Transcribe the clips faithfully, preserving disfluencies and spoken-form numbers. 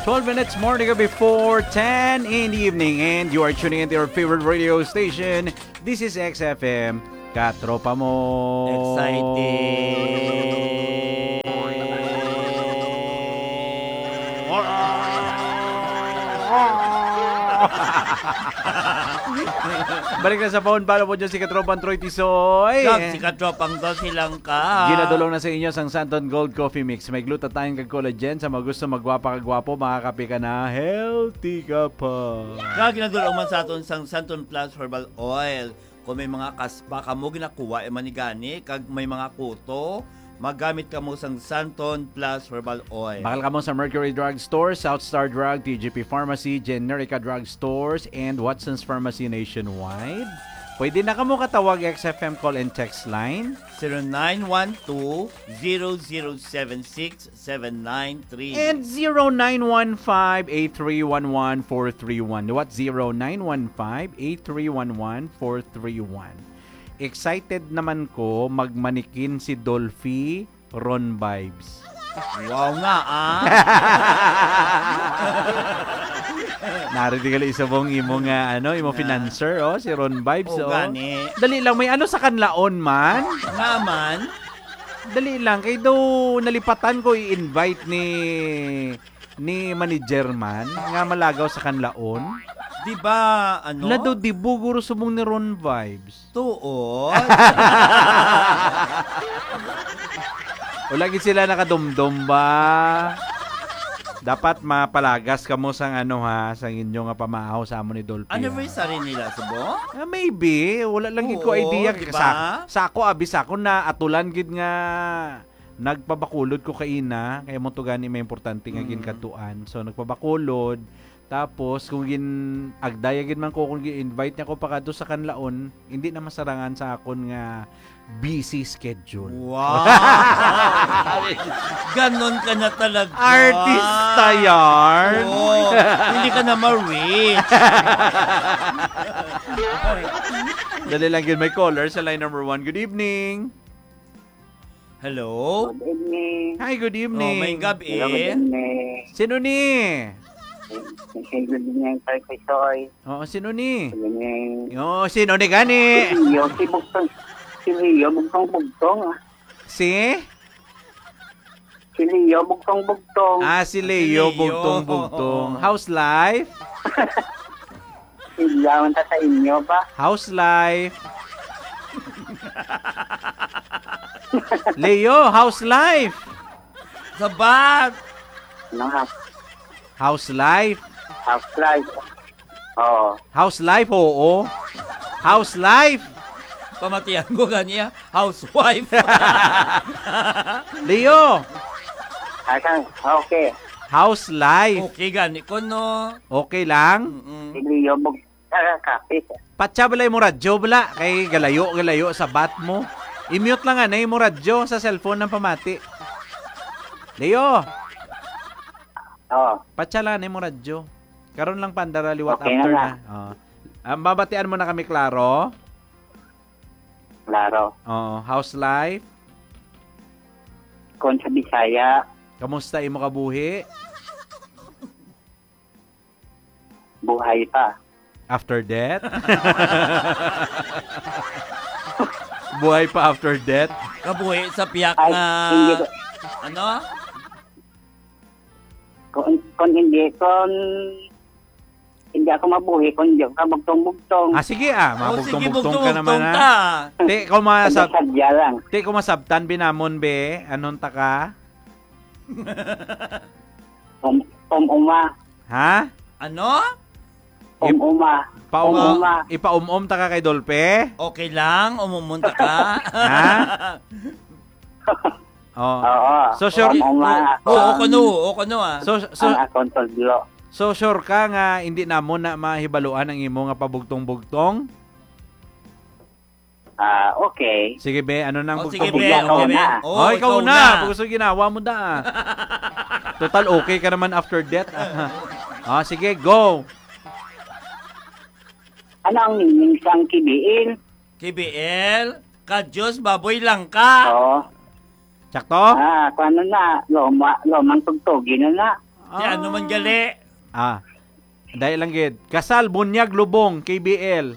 Twelve minutes more to go before ten in the evening, and you are tuning into your favorite radio station. This is X F M, Katropa Mo. Exciting. Balik na sa phone, pala po dyan si Katropang Troy Tisoy. Kag si Katropang Dulce Langka. Ginadulong na sa inyo sang Santon Gold Coffee Mix. May glutathione kag collagen sa mga gusto magwapa kag gwapo, makakape ka na, healthy ka pa. Kag ginadulong man sa aton sang Santon Plus Herbal Oil. Kung may mga kaspa kamo ginakuha, eh, manigani, kag may mga kuto, magamit kamo sang Santon Plus Herbal Oil. Bakal kamo sa Mercury Drug Store, South Star Drug, T G P Pharmacy, Generica Drug Stores, and Watson's Pharmacy nationwide. Pwede na kamo katawag X F M call and text line. Zero nine one two, zero zero seven six, seven nine three. And zero nine one five, eight three one one, four three one. What? Zero nine one five, eight three one one, four three one. Excited naman ko magmanikin si Dolphy Ron Vibes. Wow nga, ah. Nari di gali isubong imo nga, ano, imo Na. Financer, oh, si Ron Vibes, O, oh. Gani. Dali lang, may ano sa Kanlaon man? Nga man? Dali lang, kay daw nalipatan ko i-invite ni, ni manager man nga malagaw sa Kanlaon. Di ba, ano? Lado di buguro subong ni Ron Vibes. Tuod? Wala gid sila nakadumdom ba? Dapat mapalagas kamo sang ano ha, sang inyo nga pamaaw sa amo ni Dolphy, ha? Anniversary nila, subong? Ah, maybe. Wala lang gid ko Oo, idea. Di Sa, ba? sa ako, abi, sa ako na atulan gid nga nagpabakulod ko kaina, kaya mo to gani may importante nga Mm. ginkadtuan. So, nagpabakulod. Tapos, kung gin-, agdaya gid man ko, kung gin-invite niya ko pakadto sa Kanlaon, hindi na masarangan sa akon nga busy schedule. Wow! Ganon ka na talaga. Artista yarn. Oo. Hindi ka na ma-reach. Dali lang gid, may caller sa line number one. Good evening. Hello? Good evening. Hi, good evening. Oh, may gabi. Hello, good evening. Sino ni? Hey, good evening, Sir Kisoy. Oo, sino ni? Good evening. Yo, sino ni gani? Si Leo, si Bugtong. Si Leo, Bugtong-Bugtong, ah. Si? Si Leo, Bugtong-Bugtong. Ah, si Si Leo, Leo. Bugtong-Bugtong. How's life? Ilaw ta sa inyo ba? How's life? Leo, how's life? Sabat! Ano, ha? How's life? How's life? Oo. How's life? Oo. How's life? Pamatian ko ganiya, housewife. Leo! Asan? Okay. How's life? Okay gani ko, no? Okay lang? Mm-mm. Si Leo, mag-, ah, kapit. Patsa bala imo radyo, bala. Kay galayo, galayo sa bat mo. I-mute lang anay mo radyo sa cellphone ng pamati. Leo! Oo. Patsa lang anay mo radyo. Karon lang pandara liwat Okay na after na. na. Oh. Ah, mabatian mo na kami, klaro? Klaro. Oh, how's life? Kung sa Bisaya, Kamusta imo kabuhi? Buhay pa. After death? Buhay pa after death? Kabuhi sa piyak Ay, nga, hindi ko ano? Kung, kung hindi, kung hindi ako mabuhi, kung hindi ako kabugtong-bugtong. Ah, sige, ah. Oh, sige, Mabugtong-bugtong ka naman, bugtong-bugtong ah. ta. Ti, kung Hindi, masab-, sadya lang. ti, kung masabtan, binamon, be, anon ta ka? Um, um, uma. Ha? Ano? Um, Ip-, uma. paum-, Um, uma. Ipaum-om ta ka kay Dolpe? Okay lang, umumon ta ka. Ha? Oh. Oo. So, sure. Um, uma. Oo, ako. oo, kuno, oo, kuno, ah. So, so, Ang akong tudlo. so, sure ka nga hindi namon na mahibaluan ang imo nga pabugtong-bugtong? Ah, okay. Sige, be, ano nang Oh, sige, bugtong-bugtong? be, Ikaw okay, be. na. Oh, Oh, ikaw ikaw na. na. Pag gusto ginawa mo da. Total, okay ka naman after death. Ah, sige, go. Ano ang meaning sang K B L? K B L? Ka Diyos, baboy lang ka. Oo. Sakto? Ah, kung ano na, loma, lomang tugtugi na na. Di ano man gali? Ah, dali lang gid. Kasal, bunyag, lubong, K B L.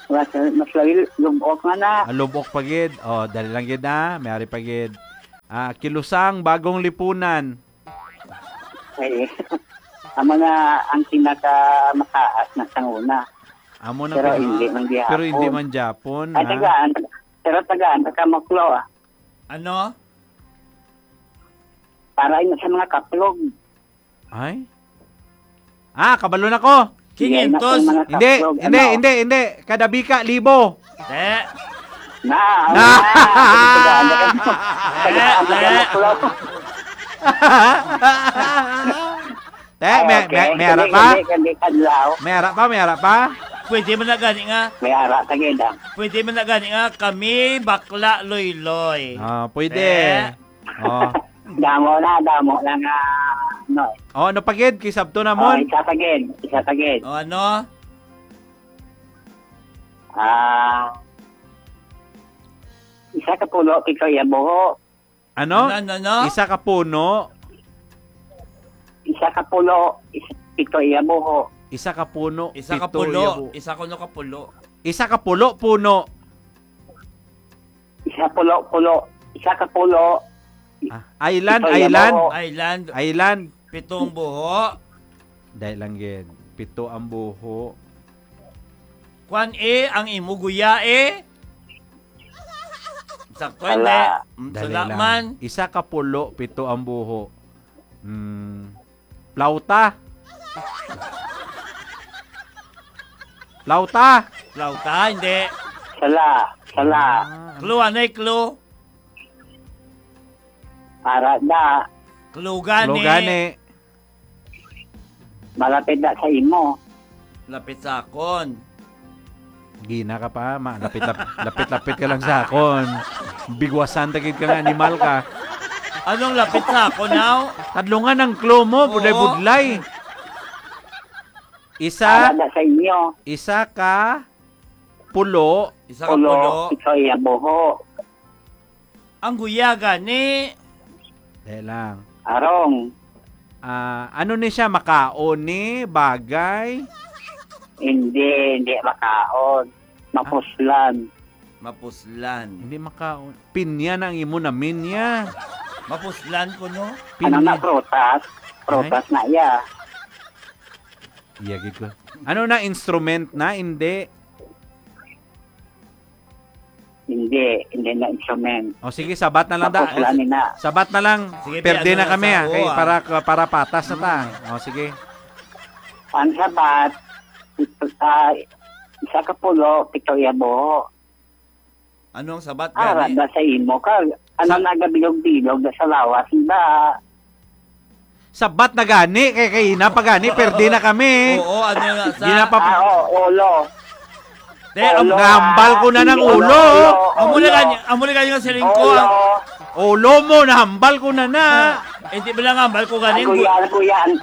Mas, mas lagi, lubok nga na. Ah, lubok pa gid. Oh, dali lang gid na. May ari pa gid. Ah, Kilusang, bagong lipunan. Eh, amo na ang pinakamataas na sang una. Amo na Pero pina- hindi man gihapon. Pero hindi man Japon, Ay, ha? tagaan. Pero tagaan, taga Moklo, ah. Ano? Para yun sa mga kaplog. Ay? Ah, kabalo na ko. Yan na Quinientos. ang mga Hindi, kaplog, hindi, ano? hindi, hindi. Kada bika, libo. Te. Na, Na. na. Tagaan, tagaan, tagaan, tagaan, Moklo. Te, may, Okay, may, may ara kani, pa? kani, kani, kadlaw. May ara pa, may ara pa? Pwede man na gani nga. May ara, tagid, ah. Pwede man na gani nga, kami bakla loyloy. Ah, pwede. Eh? Oh. Damo na, damo na nga, ano. Oh, ano pa gid? Kisabto na, Oh, Mon? isa pa gid, isa pa gid. Oh, ano? Ah, isa ka pulo, pito iya buho. Ano? Ano, ano, ano? Isa ka puno. Isa ka pulo, is-, pito iya buho. Isa ka puno, Isa ka pito pulo, iya bu- isa kuno ka pulo. Isa ka pulo, puno. Isa pulo, pulo. Isa ka pulo. Ah, island, Pito iya island. buho. Island. Island. Pito ang buho. Dahil lang gid. Pito ang buho. Kwan eh, ang imo guya eh. Sakto, Ala. hindi. Mm, Dali sala lang. man. Isa ka pulo, pito ang buho. Mm, plauta. Plauta. Plauta, hindi. Sala, sala. Ah, Clue, anay clue? Ara da. Clue gani. Clue gani. Malapit na sa imo. Lapit sa akon. Gina ka pa, ma. Lapit, lap-, lapit, lapit ka lang sa akon. Bigwasan ta gid ka nga animal ka. Anong lapit sa akon, now? Tadlungan ang clue mo, Oo. budlay-budlay. Isa, Para na sa inyo. Isa ka pulo. Isa ka Pulo, pulo. Ikaw iya buho. Ang guya gani. Dali lang. Arong. Ah, ano ni siya? Makaon ni? Bagay? Hindi, hindi makaon. Mapuslan. Mapuslan. Hindi makaon. Pinya na ang imo na minya. Mapuslan ko, no? Ano na, Pinya. prutas? Prutas Ay. na iya. Iya, gid ko. Ano na, instrument na? Hindi. Hindi, hindi na instrument. O, sige, sabat na lang da. Tapos lang na. Sabat na lang. Sige, Perde ano na na kami, sa ah, kay uwa? para, para patas na ta. Mm. O, sige. Ang sabat, ito sa isa ka pulo, pito iya buho. Ano ang sabat Ara gani? da sa imo ka. Ano Sa nagabilog-bilog da sa lawas da? Sabat na gani, kay, kay ina pa gani, perde na kami. Oo, ano na sa Di na pa Ah, oo, ulo. Te, am- Ulo, Nahambal ko na ah, ng hindi, ulo. ulo, Amo na ulo. gani, amo na gani nga siling ko, Ulo. ah. Ulo mo, nahambal ko na na. Ah, eh, di ba lang hambal ko gani, Ang gu- guya, ang guya, ang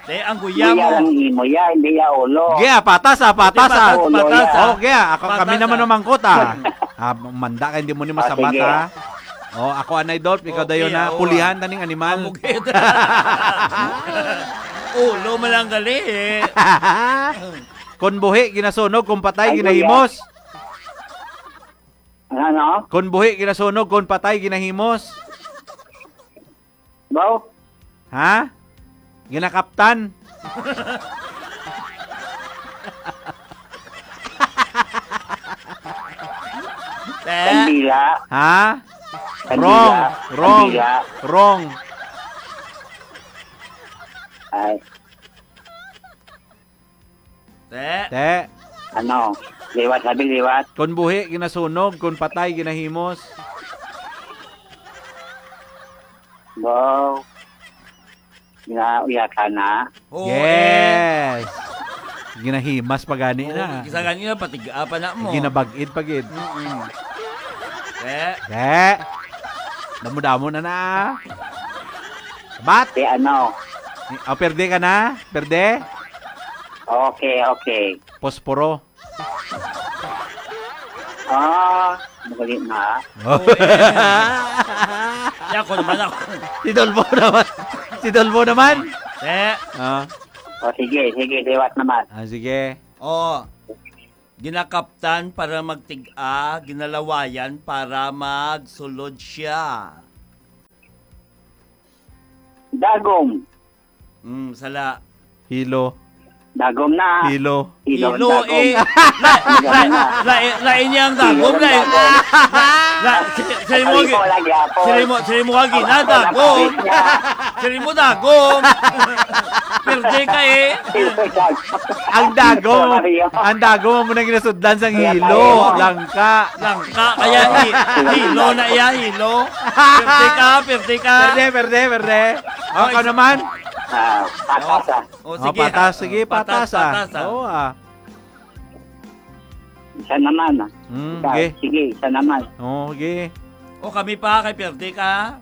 Te, ang guya guya mo. lang imo ya, hindi ya ulo. Gya, patas, ah, patas, Te, ah. patas, Ulo patas, ya. ah. Oh, gya, ako, kami Patas, naman ah. namangkot, ah. Ah, manda ka, hindi mo ni Oh, masabat, sige. ah. Oh, ako, Anay Dolph, ikaw Okay, dayon na. oh, Pulihan ah. taning animal. Ang bukid. Ulo mo lang gali, eh. Kon buhi, ginasunog, kon patay, Ay, ginahimos. Ano? Kon buhi, ginasunog, kon patay, ginahimos. Baw? Ha? Ginakaptan? Eh? Kandila. Ha? Kandila. Wrong. Wrong. Kandila. Wrong. Ay. Te. Te. Ano? Liwat, sabi liwat. Kon buhi, ginasunog. Kon patay, ginahimos. Wow. Ginauya ka na. Oo, Yes. Ginahimas pa gani Oo, na. Isa gani na, patiga pa na mo. Ginabag-id pa gid. Mm-mm. Te. Te. Damo-damo na na. Bat? Te, ano? Oh, perde ka na? Perde? Okay, okay. Posporo. Ah, magaling na. Oh. Oo, eh. Yan, ako naman ako. Si Dolfo naman. Si Dolfo naman. Eh. Ah. O, sige, sige, liwat naman. Ah, sige. O, ginakaptan para magtig-a, ginalawayan para magsulod siya. Dagom. Mm, sala. Hilo. Dagom na. Hilo. Hilo, Hilo, dagom. Eh. La, la, la, la, la, inyang dagom, Hilo, la, dagom. La, si, si mo Ay, gi-, wala gyapon. Si mo, si mo agi na, Ako, dagom. Ako, niya. Si mo, dagom. Perde ka, eh. Hilo, dagom. Ang dagom, Maria. Ang dagom mo nang ginasudlan sang Kaya hilo, tayo. Langka. Langka, kaya hi-, hilo na iya, hilo. Perde ka, perde ka. Perde, perde, perde. O, Oh, ikaw isa- naman. Ah, patas, ah. O, Oh, sige. Patas, sige, Patas, patas, ah. Patas, ah. Oo, ah. Isa naman, ah. Mm, Isa, sige. Sige, isa naman. Oh, sige. O, kami pa, kay perde ka.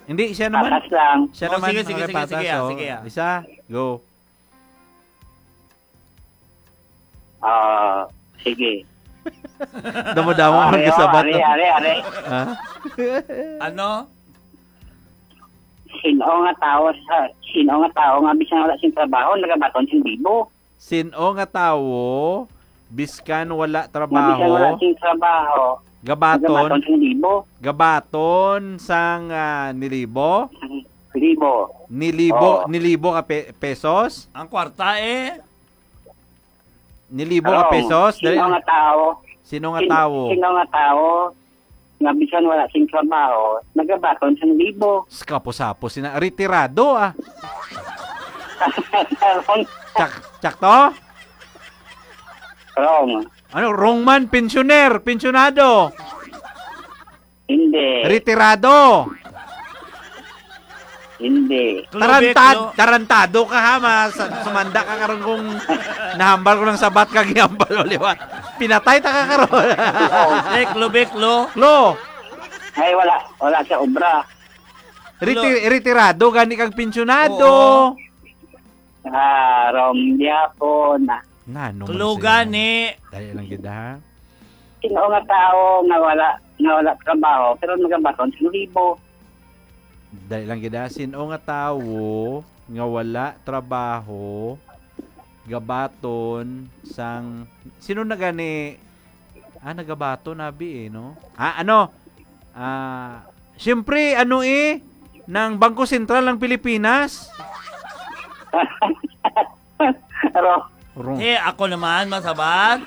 Hindi, siya naman. Patas lang. Siya Oh, naman, sige, sige, okay, sige, patas, sige, ah, oh. Sige, ah. Isa, go. Ah, sige. Damo-damo Ah, man ari, oh, kasabot, ari, no? Ari, ari. Ha? Ano? Sino nga tawo sa, sino nga tawo nga bisan wala sing trabaho, nagabaton sing libo? Sino nga tawo, biskan wala Nga bisan wala trabaho, sing trabaho, gabaton, nagabaton sing libo? Gabaton sang, ah, nilibo? Libo. Nilibo, Oo. Nilibo ka pe-, pesos? Ang kwarta, eh. Nilibo ka Wrong. Pesos? Sino Dali. Nga tao? Sino nga Sin-, tao? Sino nga tao nga bisan wala sing trabaho, nagabaton sang libo? Kapos-hapos sina, retirado, ah. Wrong. Tsak-, tsakto? Wrong. Ano, wrong man, pensioner, pensionado. Hindi. Retirado. Hindi. Tarantad-, tarantado ka, ha, mas-, sumanda ka karon kung nahambal ko ng sabat kag ihambal mo liwat. Pinatay ta ka karon. Lek, lubek, lo. Lo. Ay, wala. Wala sa obra. Reti-, Lo. Retirado, gani kag pensionado. Oo. Ah, wrong gyapon. Nano man Klo siya? Gani. Dali lang gid, ha? Sino nga tao nga wala, nga wala trabaho, pero nagabaton sang libo? Dali lang gid, ha? Sino nga tawo nga wala trabaho, gabaton sang, sino na gani? Ah, nagabaton, abi, eh, no? Ah, ano? Ah, siyempre, ano, eh, ng Bangko Sentral ng Pilipinas? Pero, Wrong. Eh, ako naman, masabat.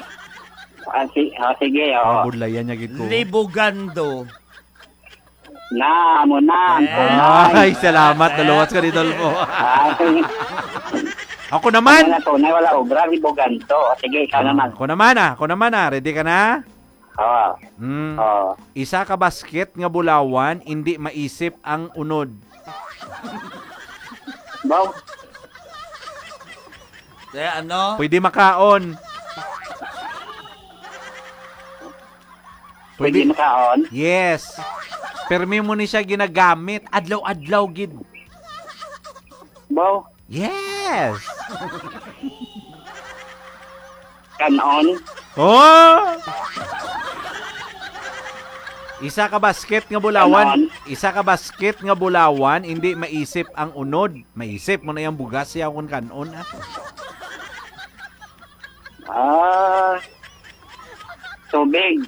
Ah, si-, ah, sige, oh. Ang budlayan niya gid ko. Libogando. Na, amo na, ang Eh. tunay. Ay, salamat, Ah. naluwas ka ni Dolfo. Ay. Ako naman. Ano na, tunay, wala obra, libogando. Sige, ikaw Ah, naman. Ako naman, ah. Ako naman, ah. Ready ka na? Oo. Mm. Oo. Isa ka basket nga bulawan, indi maisip ang unod. Baw. Kaya ano? Pwede makaon. Pwede Pwede. Makaon? Yes. Permi mo ni siya ginagamit. Adlaw-adlaw gid. Baw. Yes! Kanon? Oh! Isa ka basket nga bulawan, Kanon? Isa ka basket nga bulawan, hindi maisip ang unod. Maisip mo na yung bugas siya kung kanon, ah. Ah, tubig.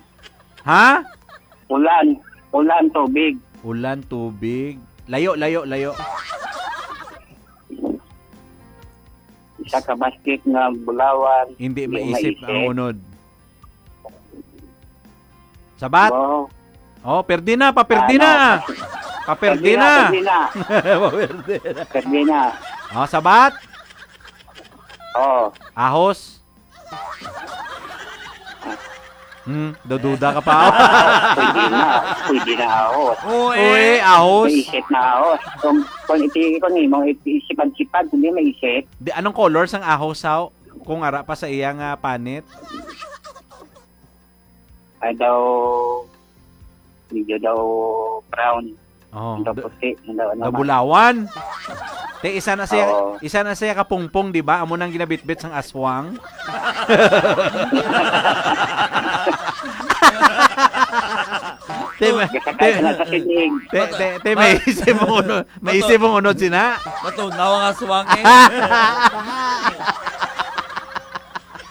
Ha? Ulan. Ulan, tubig. Ulan, tubig. Layo, layo, layo. Isa ka basket nga bulawan, Hindi di maisip ang maisip. Unod. Sabat? Wow. Oh, perde na, paperde Ano? na. Paperde Perde na, na. Perde na. Paperde na. Perde na. Oh, sabat? Oh. Ahos. Hmm, dududa ka pa. Pwede na. Pwede na ahos. Oo, eh. Uy, ahos. Naisip na ahos. Kung, kung iti-, kung imo, iti-, sipad-sipad, hindi maisip. Di, anong color sang ahos, haw? Kung ara pa sa iya nga panit? Ay daw, medyo daw brown. Oh, Ang daw do-, puti, ang daw ano man. Nabulawan. Te, isa na siya, Oo. Isa na siya kapungpong, di ba? Amo nang ginabitbit sang aswang. Te, may, Gasakay te, ka na sa siling. te, te, te, may Ba-, isip mo unod, may Bato. isip mo unod sina. Matunaw ang aswang eh.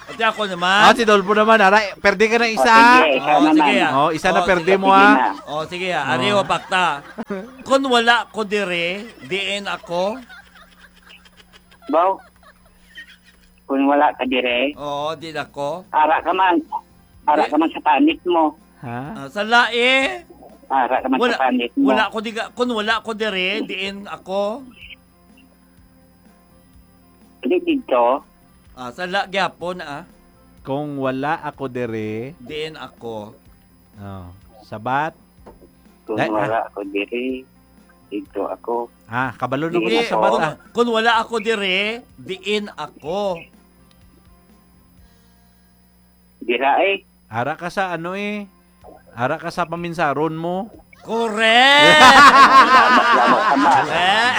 Ate, ako naman. Ah, si Dolpo naman, ara, perde ka na O, isa. sige, ikaw O, naman. sige, ah. O, isa na O, perde sige. mo, Sige ah. na. O, sige, ah. Ari, O. o, pakta. Kung wala ko dire, diin ako? Baw, kung wala ka dire, Oo, diin ako. ara ka man. Ara Di- ka man sa panit mo. Ha? Ah, sa lae. Ara ka man Wala, sa panit mo. wala ko diga, kung wala ko dire, diin ako? Di dito. Ah, sa la gyapon, ah. Kung wala ako dire. Diin ako? Oh, sabat. Kung Eh, ah. wala ako dire, dito ako. Ah, kabalo na Hindi, ko sa sabat, kung, ah. kung wala ako dire, diin ako? Dira eh. Ara ka sa ano eh. Ara ka sa paminsaron mo. Correct! Salamat, salamat, salamat. Eh?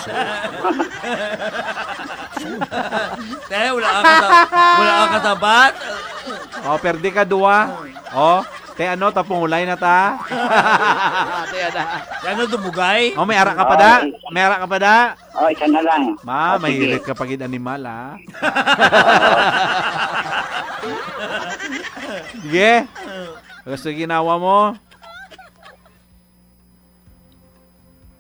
Te, wala ka sa-, wala ka sabat? O, perde ka duwa. O, te, ano, tapungulay na ta. Te, ano. Te, ano, dumugay? O, may ara ka pa da? Ay. May ara ka pa da? O, isa na lang. Ma, O, sige. mahilit ka pa gid animal, ah. Sige. Gusto ginawa mo?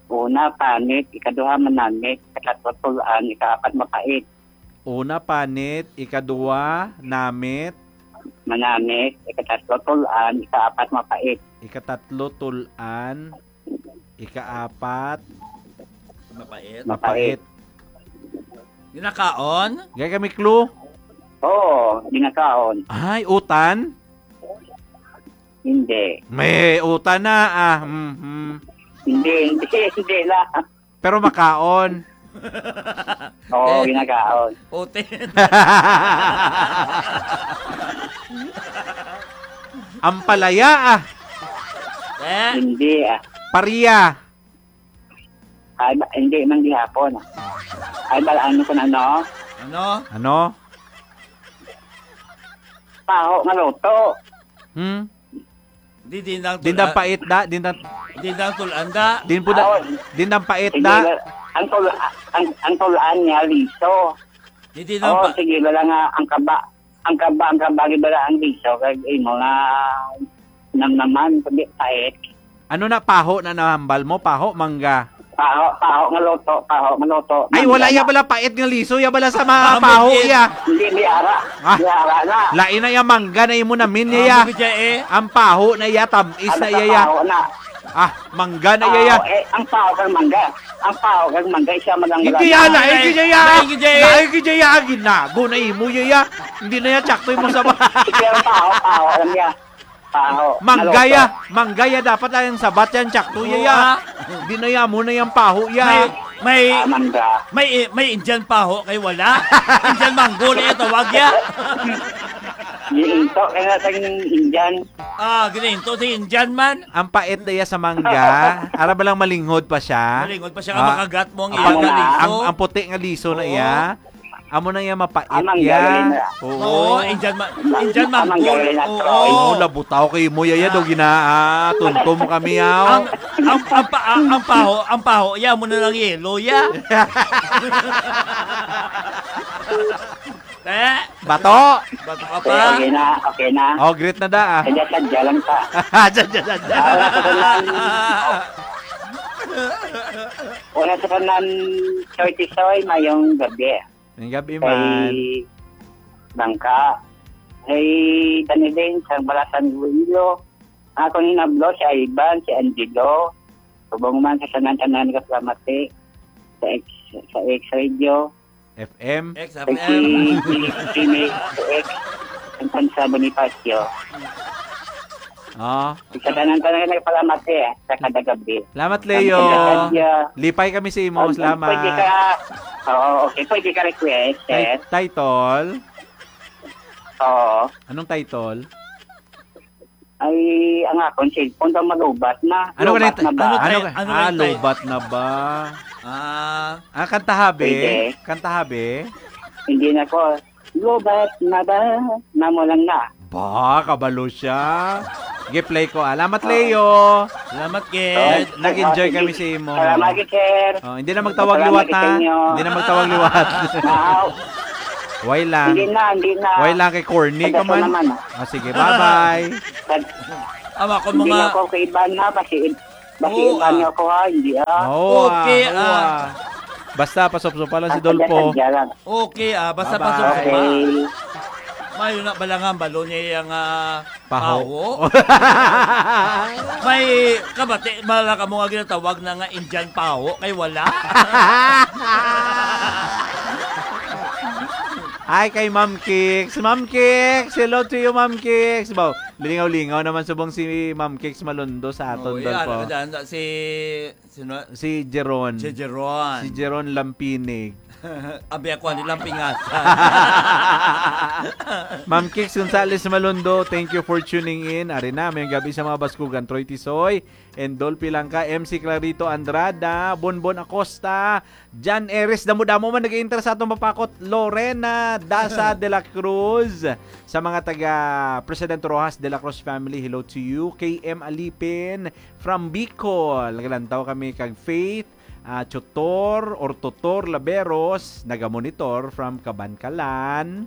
Una, panit. Ikaduha, manamit. Ikatlo, tulan. Ikaapat, mapait. Una, panit. Ikaduha, namit. Manamit. Ikatatlo, tulan. Ikaapat, mapait. Ikatatlo, tulan. Ikaapat, Mapait. Mapait. mapait. Ginakaon? Gay kami clue? Oo, ginakaon. Ay, utan? Hindi. May utan na, ah. Mhm. Hindi, hindi, hindi lang. Pero makaon. Oo, Eh. ginakaon. Utin. Ampalaya, ah. Eh? Hindi, ah. Paria. Ay, ba, hindi man gihapon. Ay, bala, ano ko na, no? Ano? Ano? Paho nga luto. Hmm? Di, di nang Din tulan. Pait da, din nang Di nang tulan da. Din po da, Ah, din nang pait Sige, da. Ang tul-, ang, ang tulaan niya, liso. Di, di nang Oo, pa- sige, wala nga, ang kaba, ang kaba, ang kaba, di ba ang liso, kag imo nga namnaman, kundi pait. Ano na, paho na nahambal mo? Paho, mangga? Paho, paho nga luto, paho nga luto. Ay, wala Mangga ya na. Bala pait nga liso, ya bala sa mga Ah, paho mungkin. Ya. Hindi, may ara. Ah. May ara na. Lain na ya, mangga na imo namin Ah, ya. Mungkin ya eh. Ang paho na ya, tamis Ano na sa ya ya. Paho na? Ah, mangga na ya ya. Paho, eh, ang paho kang mangga. Ang paho kang mangga, isa man lang Hindi wala ya, na. Lain gid ya ya. Lain gid ya eh. Lain gid ya ya, ginago na imo ya ya. Hindi na ya, tsakto imo sa ba- Sige, ang paho, paho lang ya. Paho, Manggaya, maluto. Manggaya, dapat lang ang sabat yan, tsakto Oo, ya, ya. Ah. Di na ya, amo na yang paho ya. May, may, Ah, mangga. May, may Indian paho kay wala. Indian mango na yung tawag ya. Giinto kay nga sa Indian. Ah, gininto sa Indian man. Ang pait na ya sa mangga. Ara ba lang malinghod pa siya? Malinghod pa siya, Ah, makagat mo ang ang, iyang ang, liso. Ang puti nga liso na Oo. Iya. Amo na iya mapait Amang iya. Galing na. Oo. Oo, Indian ma-, Indian Amang mango. Galing na, Oo. Troy. Imo labutaw kay mo yaya Ah. do gina, ah, tunto mo kami yaw. Ang, ang, ang, pa-, ang, ang paho, ang paho, ya mo na lang yelo, ya. Eh? Bato. Bato ka pa. Okay, okay na, okay na. Oh, great na da, ah. Sadya-sadya lang ta. Sadya-sadya. Ah, wala sa tanan. Wala sa tanan, Choy Tisoy, mayong gabi. Ang gabi man. Kay Bangka. Kay Danilin, sa Balasan, Iloilo. Ako ni Nablo, si Ivan, si Angelo. Subong man sa tanan-tanan nga palamati. Sa ex, sa X Radio. F M. X F M. Si, si, si May, si X. Ang Tansa Bonifacio. Ah. Sa tanan-tanan nga nagpalamati, eh, sa kada gabi. Salamat, Leo. Ang taga-, Lipay kami sa imo. Ang, ang Salamat. Pwede ka, oo, okay, pwede ka request, Ti-, sir. Title? Oo. Anong title? Ay, ang akon cellphone daw malubat na. Ano ka Lubat nito? Na ba? Ano ka, Ano ka? Ano Ah, ka nito? Lubat na ba? Ah. Ah, kanta habe. Pwede. Kanta habe. Hindi na ko. Lubat na ba? Namo lang na. Ba, kabalo siya. Gi-play ko, ah. Salamat, Leo. Salamat, Ken. Nag-, nag-enjoy kami sa imo. Salamat, sir. Oh, hindi na magtawag Salamat liwat, sa ha? Inyo. Hindi na magtawag liwat. Wow. Why lang? Hindi na, hindi na. Why lang kay corny ka man? Naman, ah. Ah, sige, bye-bye. Pag-, Ama ko hindi mga na ako kay Ivan, ha? Kasi, kasi Oo, Ivan ah. niyo ako, ha? Hindi, ah. Oo, Okay, ah, oo, ah. ah. Basta, pasupsupa lang si Ang Dolpo. Sadya-sadya lang. Okay, ah, basta Bye-bye. pasok pa. Okay. Mayo na bala nga, balo niya yung, ah, Paho. paho. May kabati, bala ka mo nga ginatawag na nga Indian paho, kay wala. Hi kay Ma'am Kicks. Ma'am Kicks, hello to you, Ma'am Kicks. Baw, lingaw-lingaw naman subong si Ma'am Kicks Malundo sa aton, Oh, yeah, Dolpo. Ano ka dyan? Si Sino? Si Jeron. Si Jeron. Si Jeron Lampinig. Abi ako, ano lang pingasan. Ma'am Kicks Gonzales Malundo, thank you for tuning in. Ari na, may gabi sa mga Baskugan, Troy Tisoy, and Dolphy Langka, M C Clarito Andrada, Bonbon Acosta, Jan Eres, damo-damo man nag-enter sa atong mapakot, Lorena Daza de la Cruz, sa mga taga President Roxas de la Cruz family, hello to you, K M Alipin, from Bicol. Nagalantaw kami kag Faith, ah, Tutor or Tutor Laberos, nagamonitor from Kabankalan.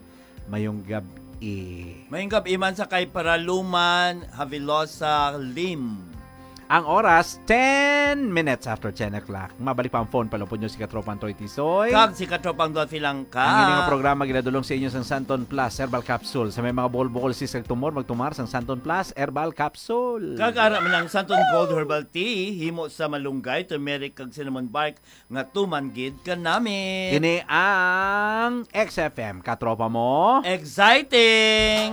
Mayong gab-i. Mayong gab-i man sa kay Paraluman Havilosa Lim. Ang oras, ten minutes after ten o'clock. Mabalik pa ang phone, palupod nyo si Katropang Toy Tisoy. Kag si Katropang Dolphy Langka. Ang ining programa ginadulong sa inyo sang Santon Plus Herbal Capsule. Sa may mga bukol-bukol, sis kag tumor, magtumar sang Santon Plus Herbal Capsule. Kag ara man ang Santon Gold Herbal Tea, himo sa malunggay, turmeric, kag cinnamon bark, nga tuman gid kanami. Ini ang X F M, katropa mo. Exciting!